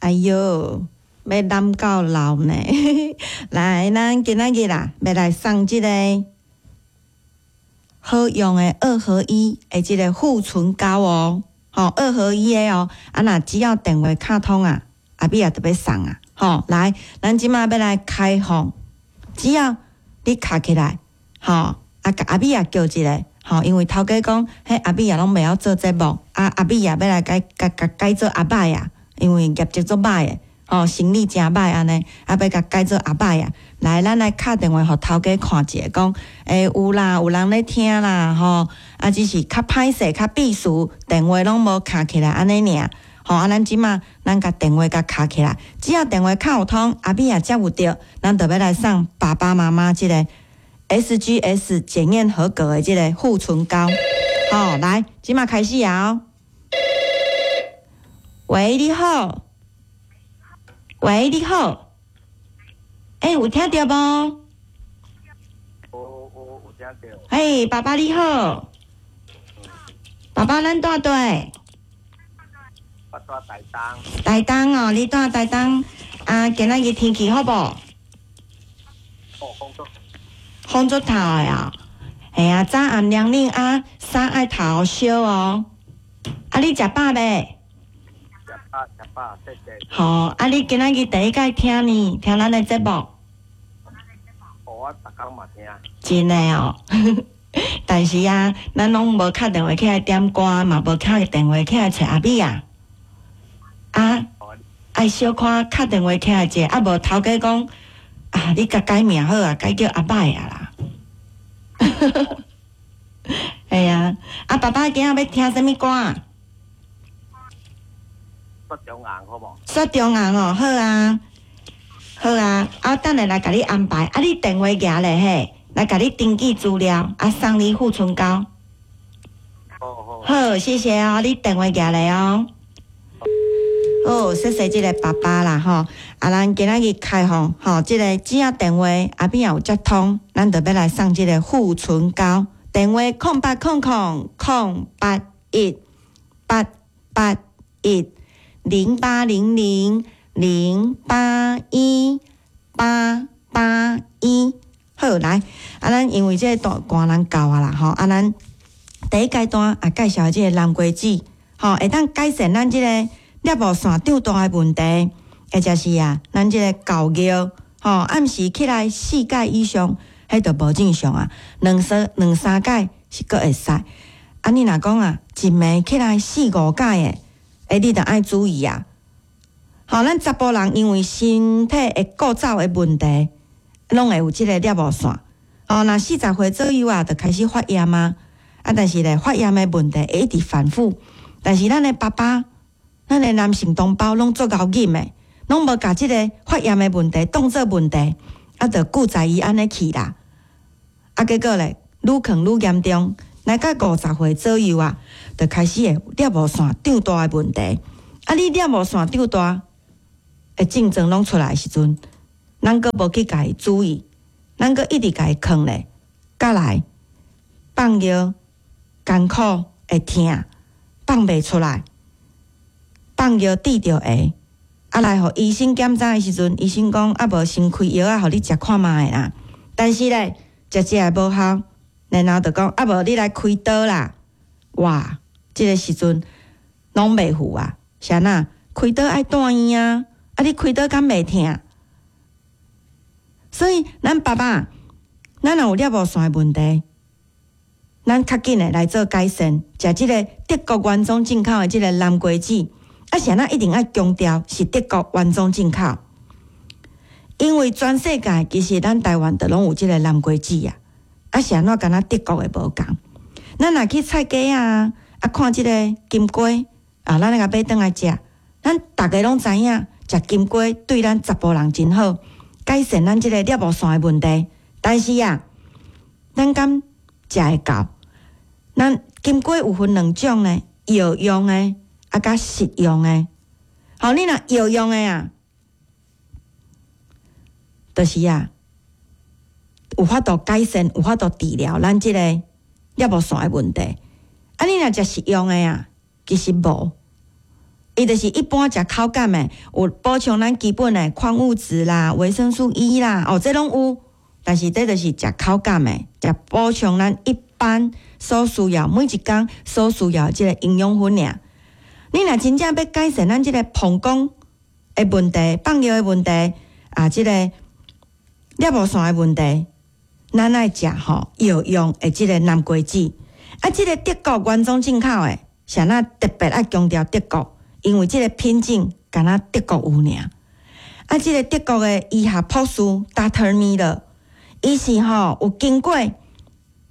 哎喲，欲攬到老呢！來，咱今仔日啦，欲來送這個好用的二合一的這個護唇膏哦，吼，二合一的哦。啊，若只要電話敲通啊，阿美仔就欲送啊，吼，來，咱這馬欲來開放，只要你敲起來，吼，啊，共阿美仔叫一下，吼，因為頭家講，彼阿美仔攏袂曉做節目，啊，阿美仔欲來改共共改做阿歹啊，因為業績足歹的，吼，生理誠歹按呢，啊，欲共改做阿歹啊。來，咱來敲電話予頭家看一下，講，欸，有啦，有人咧聽啦，吼，啊，只是較歹勢，較避暑，電話攏無敲起來按呢爾。吼，啊，咱這馬咱共電話共敲起來，只要電話敲有通，阿美仔接有著，咱就欲來送爸爸媽媽這個 SGS 檢驗合格的這個護唇膏。好，來，這馬開始啊！喂，你好。喂，你好。欸，有聽著無？有有有聽著。嘿，爸爸你好。爸爸，咱蹛佗？我蹛台東。台東哦，你蹛台東啊？今仔日天氣好無？哦，風足。風足透的啊！嘿啊，早暗涼冷啊，衫愛透燒哦。啊，你食飽未？食飽食飽，謝謝。好，啊，你今仔日第一擺聽呢？聽咱的節目？哦，我逐工嘛聽。真的哦，但是啊，咱攏無敲電話起來點歌，嘛無敲電話起來揣阿美仔。啊，愛小可敲電話起來者，啊無頭家講啊，你共改名好啊，改叫阿歹啊啦。系啊，啊爸爸今仔欲聽啥物歌？雪中紅好無？雪中紅哦，好啊，好啊，啊等下來共你安排，啊你電話舉咧嘿，來共你登記資料，啊送你護唇膏。好好。好，謝謝哦，你電話舉咧哦。好，謝謝這個爸爸啦吼，啊，咱今仔日開放吼，這個只要電話阿美仔有接通，咱就欲來送這個護唇膏。電話0800 081 8810800 081 881。好，來，啊，咱因為這個大寒人到啊啦吼，啊，咱第一階段啊介紹這個南瓜子，吼，會當改善咱這個尿布腺長大的問題，或者是啊，咱這個厚尿，吼，暗時起來四擺以上，彼就無正常啊，兩三兩三擺是閣會使。啊，你若講啊，一暝起來四五擺的，欸，你著愛注意啊。吼，咱查埔人因為身體的構造的問題，攏會有這個尿布腺。吼，若40歲左右啊，就開始發炎啊。啊，但是咧，發炎的問題會一直反覆。但是咱的爸爸，咱的男性同胞攏足𠢕忍的，攏無共這個發炎的問題當做問題，啊，就顧在伊按呢去啦。啊，結果咧，愈囥愈嚴重，來到50歲左右啊，就開始會尿布腺長大的問題。啊，你尿布腺長大的症狀攏出來的時陣，咱閣無去共伊注意，咱閣一直共伊囥咧，佮來放尿艱苦會疼，放袂出來，放尿滴著下，啊來予醫生檢查的時陣，醫生講啊無先開藥仔予你食看覓啦。但是咧，食食會無效，然後就講啊無你來開刀啦。哇，這個時陣攏袂赴啊，是按怎？開刀愛住院啊，啊你開刀敢袂疼？所以咱爸爸，咱若有尿布腺的問題，咱較緊的來做改善，食這個德國原裝進口的這個南瓜子，啊，是按怎一定愛強調是德國原裝進口，因為全世界其實咱台灣就攏有這個南瓜子啊，啊是按怎敢若德國的無仝？咱若去菜市啊，啊看這個金瓜啊，咱來共買轉來食，咱逐家攏知影，食金瓜對咱查埔人真好，改善咱這個尿布腺的問題。但是啊，咱敢食會到？咱金瓜有分兩種呢，藥用的啊，佮食用的。吼，你若藥用的啊，就是啊，有法度改善，有法度治療咱這個尿布腺的問題。啊，你若食食用的啊，其實無，伊就是一般食口感的，有補充咱基本的礦物質啦、維生素 E 啦，哦，這攏有。但是這就是食口感的，食補充咱一般所需要每一工所需要的這個營養分爾。你若真正欲改善咱這個膀胱的問題、放尿的問題啊，這個尿布線的問題，咱愛食吼藥用的這個南瓜籽。啊，這個德國原裝進口的，啥那特別愛強調德國，因為這個品種干焦德國有爾。啊，這個德國的醫學博士 Doctor Miller，伊是吼有經過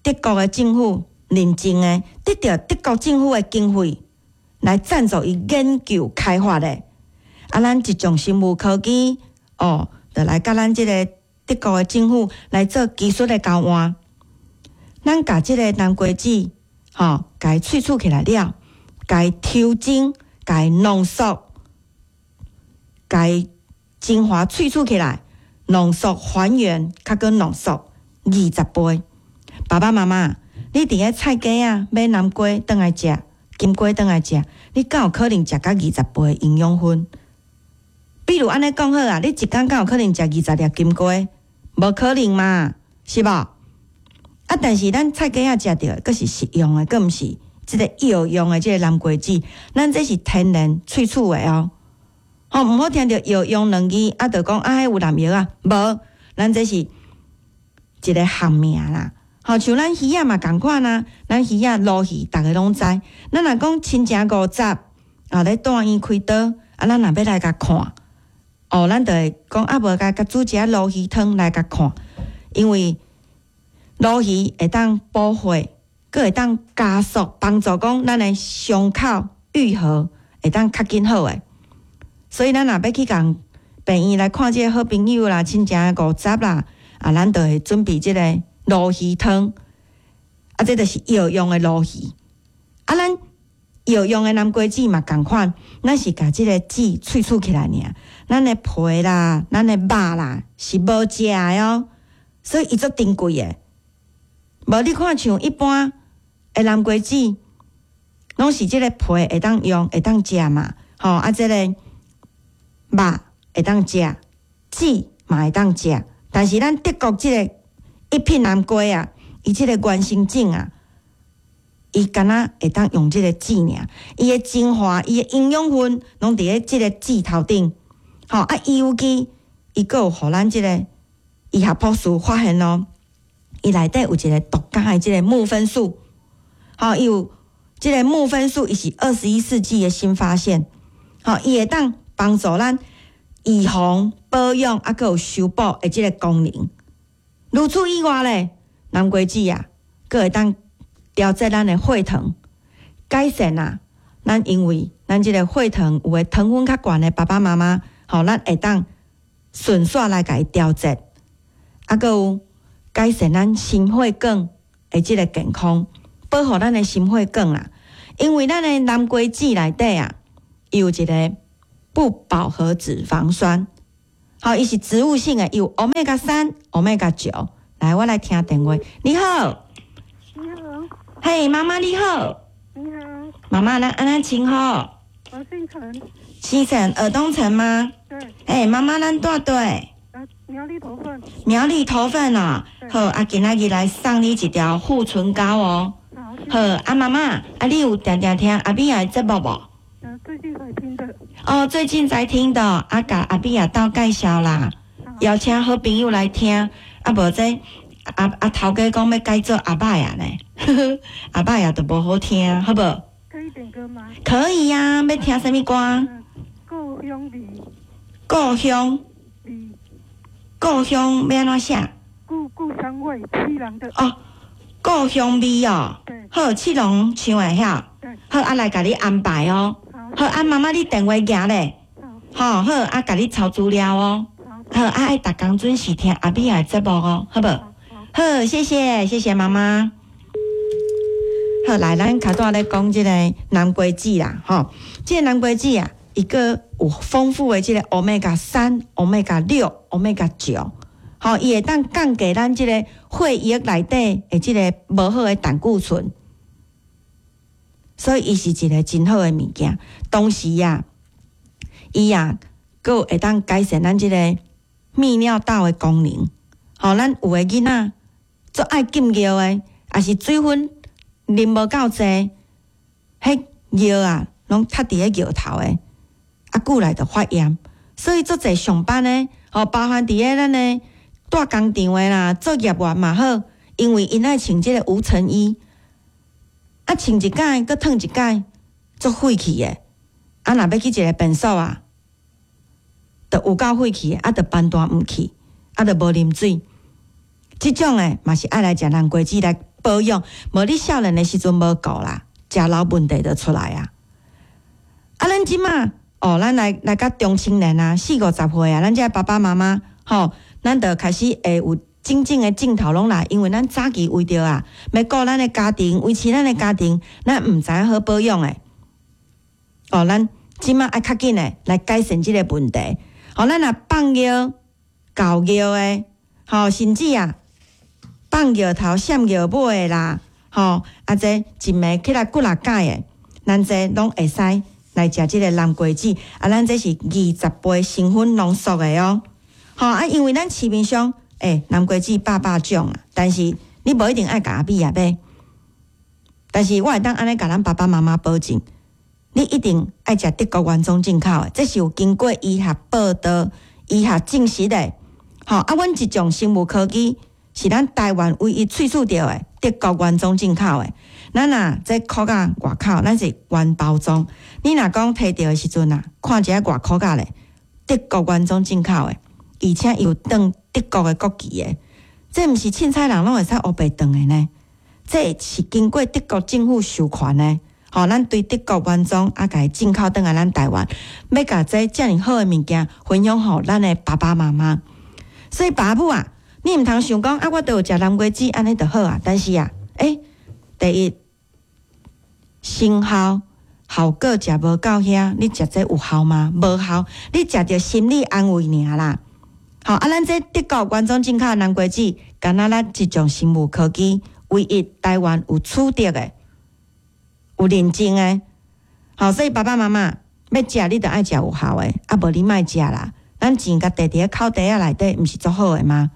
德國的政府認證的，得著德國政府的經費來贊助伊研究開發的。啊，咱一眾生物科技哦，就來佮咱這個德國的政府來做技術的交換。咱共這個南瓜籽，吼，共伊萃取起來了，共伊抽精，共伊濃縮，共伊精華萃取起來，濃縮還原，較閣濃縮20倍。爸爸媽媽，你佇咧菜市仔買南瓜轉來食，金瓜轉來食，你敢有可能食甲二十倍營養分？比如按呢講好啊，你一工敢有可能食二十粒金瓜？無可能嘛，是無？啊，但是咱菜市仔食著的，閣是食用的，閣毋是這個藥用的這個南瓜籽，咱這是天然萃取的哦。吼，毋好聽著藥用兩字，啊，就講啊，彼有濫藥啊，無，咱這是一個學名啦。吼，像咱魚仔嘛仝款啊，咱魚仔鱸魚，逐个攏知。咱若講親情五十，啊，咧大院開刀，啊，咱若欲來共看，哦，咱就會講啊，無共共煮一下鱸魚湯來共看，因為鱸魚會當補血，閣會當加速幫助講咱的傷口愈合會當較緊好的。所以咱若欲去共病院來看這個好朋友啦、親情五十啦，啊，咱就會準備這個鱸魚湯，啊，這就是藥用的鱸魚。啊，咱藥用的南瓜籽嘛仝款，咱是共這個籽萃取起來爾，咱的皮啦、咱的肉啦是無食的哦，所以伊足珍貴的。無你看像一般的南瓜籽，攏是這個皮會當用、會當食嘛，吼啊，這個肉會當食，籽嘛會當食，但是咱德國這個一品南瓜啊，伊這個原生種啊，伊干焦會當用這個籽爾，伊的精華、伊的營養分，攏佇咧這個籽頭頂。吼啊，尤其伊閣有予咱這個醫學博士發現哦，伊內底有一個獨家的這個木酚素，吼，伊有這個木酚素，伊是21世紀的新發現，吼，伊會當幫助咱預防、保養，啊，閣有修補的這個功能。除此以外咧，南瓜籽啊，閣會當調節咱的血糖，改善啊。咱因為咱這個血糖有的糖分較懸的爸爸媽媽，吼，咱會當順紲來共伊調節，啊，閣有改善咱心血管的這個健康，保護咱的心血管啦。因為咱的南瓜籽內底啊，伊有一個不飽和脂肪酸，好，伊是植物性的，有歐米伽3、歐米伽9。來，我來聽電話。你好，你好，嘿，媽媽你好，你好，媽媽，咱按怎稱呼？我姓陳，姓陳，爾東城嗎？對，哎，媽媽，咱蹛佗？苗栗頭份，苗栗頭份哦。對好，啊，今仔日來送你一條護唇膏哦。好，好，啊，媽媽，啊，你有定定聽阿美仔的節目無？最近才聽的，哦，最近才聽的，啊，共阿美仔鬥介紹啦，邀請好朋友來聽，啊，無這阿阿頭家講欲改做阿伯仔呢，阿伯仔就無好聽，好無？可以點歌嗎？可以呀，欲聽啥物歌？故鄉味，故鄉，味，故鄉欲按怎寫？故鄉味，七郎的，哦，故鄉味哦，對好，七龍唱的遐，對，好，啊來共你安排哦。好，好，啊媽媽你電話舉咧，好，好好啊，共你抄資料哦。好，好，啊愛逐工準時聽阿美仔的節目哦，好無？好，好，謝謝，謝謝媽媽。好，來，咱頭拄仔咧講這個南瓜籽啦，吼，這個南瓜籽啊，伊閣有豐富的這個歐米伽3、歐米伽6、歐米伽9，吼，伊會當降低咱這個血液內底的這個無好的膽固醇，所以伊是一個真好的物件。同時啊，伊啊，閣會當改善咱這個泌尿道的功能。吼，咱有的囡仔足愛禁尿的，抑是水分啉無夠濟，彼尿啊，攏塞佇咧尿頭的，啊，久來就發炎。所以足濟上班的，吼，包含佇咧咱的大工廠的啦，做業員嘛好，因為𪜶愛穿這個無塵衣，啊，穿一擺，閣褪一擺，足廢氣的。啊，若欲去一个便所啊，就有夠廢氣的，啊，就班單毋去，啊，就無啉水。這種的嘛是愛來食南瓜子來保養，無你少年的時陣無顧啦，食老問題就出來啊。啊，咱這馬哦，咱來來較中青年啊，四五十歲啊，咱這爸爸媽媽吼，咱就開始會有種種的症頭攏來，因為咱早期為著啊，欲顧咱的家庭，維持咱的家庭，咱毋知影好保養的。哦，咱這馬愛較緊的來改善這個問題。吼，咱若放尿、搞尿的，吼，甚至啊，放尿頭閃尿尾的啦，吼，啊，這一暝起來幾若擺的，咱這攏會使來食這個南瓜子。啊，咱這是20倍成分濃縮的哦。吼，啊，因為咱市面上，南瓜子百百種啊，但是你無一定愛共阿米仔買。但是我會當按呢共咱爸爸媽媽保證，你一定愛食德國原裝進口的，這是有經過醫學報道、醫學證實的。吼，啊，阮這種生物科技是咱台灣唯一萃取著的德國原裝進口的。咱若這殼仔外口，咱是原包裝。你若講提著的時陣啊，看一下外殼仔咧，德國原裝進口的，而且有當德國的國旗的，這毋是凊彩人攏會使烏白當的呢。這是經過德國政府授權的。吼，咱對德國原裝啊，共伊進口轉來咱台灣，欲共這遮爾好的物件分享予咱的爸爸媽媽。所以爸母啊，你毋通想講啊，我都有食南瓜子，按呢就好啊。但是啊，第一，成效效果食無夠遐，你食這有效嗎？無效，你食著心理安慰爾啦。吼，啊，咱這德國原裝進口的南瓜子，敢若咱這種生物科技唯一台灣有取得的、有認證的。吼，所以爸爸媽媽欲食，你著愛食有效的，啊，無你莫食啦。咱錢共挃佇咧口袋仔內底，毋是足好的嗎？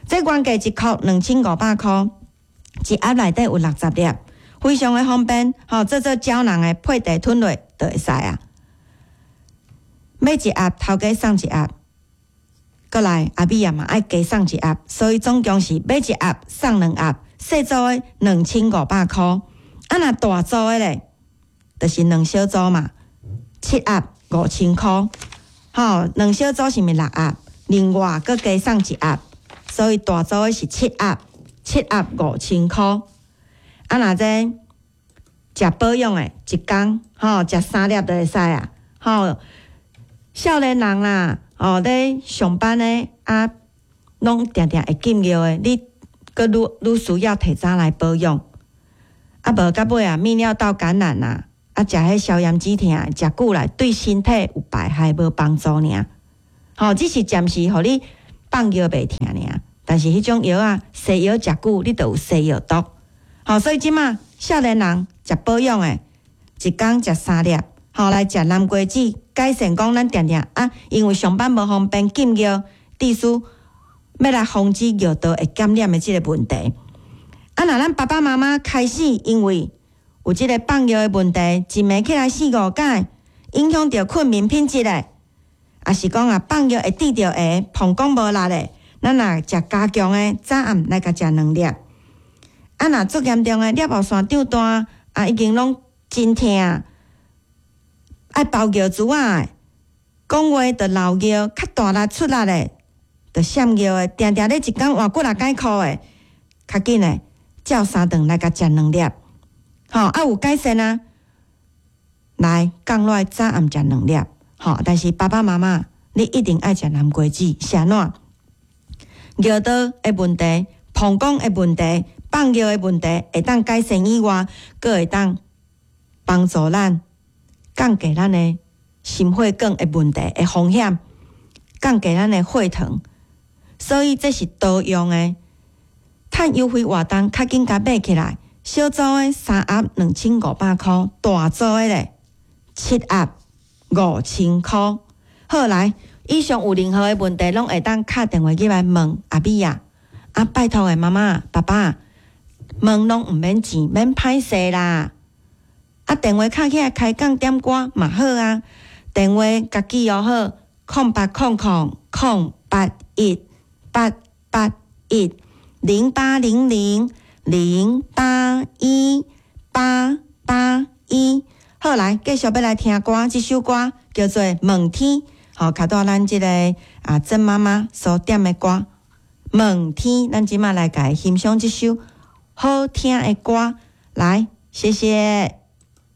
這原價一箍2500箍，一盒內底有60粒，非常的方便。吼，做做膠囊的配茶吞落就會使啊。買一盒，頭家送一盒，閣來阿米仔嘛愛加送一盒，所以總共是買一盒送兩盒，細組的2500箍。啊，若大組的咧，就是兩小組嘛，七盒5000箍。吼，兩小組是毋是六盒？另外閣加送一盒，所以大組的是七盒，七盒5000箍。啊，若這食保養的，一工吼食三粒就會使啊。吼，少年人啦，吼咧上班的啊，攏定定會禁尿的，你閣愈愈需要提早來保養。啊，無到尾啊，泌尿道感染啊，啊，食彼消炎止痛，食久來對身體有排害無幫助爾。吼，只是暫時予你放尿袂疼爾，但是彼種藥啊，西藥食久，你就有西藥毒。吼，所以這馬少年人食保養的，一工食三粒，吼來食南瓜子，改善講咱定定啊，因為上班無方便禁尿，致使欲來防止尿道會感染的這個問題。啊，若咱爸爸媽媽開始因為有這個放尿的問題，一暝起來四五擺，影響著睏眠品質的，抑是講啊放尿會滴著下，膀胱無力的，咱若食加強的，早暗來共食兩粒。啊，若足嚴重的尿路腺長大，啊已經攏真疼，愛包尿珠仔的，講話就漏尿，較大力出力的，就閃尿的，定定咧一工換幾若擺褲的，較緊的，照三頓來共食兩粒，吼啊有改善啊，來降落來早暗食兩粒，吼，但是爸爸媽媽，你一定愛食南瓜子，是按怎？尿道的問題、膀胱的問題、放尿的問題會當改善以外，閣會當幫助咱降低咱的心血管的問題的風險，降低咱的血糖，所以這是多用的。趁優惠活動，較緊共買起來。小組的三盒2500箍，大組的咧七盒5000箍。好來，以上有任何的問題，攏會當敲電話入來問阿美啊。啊，拜託的媽媽、爸爸，問攏毋免錢，免歹勢啦。啊，電話敲起來開講點歌嘛好啊。電話共記哦好，0800 081 881，0800 081 881。好來，繼續欲來聽歌，這首歌叫做《問天》，好，卡到咱這個啊曾媽媽所點的歌《問天》，咱這馬來共欣賞這首好聽的歌，來，謝謝。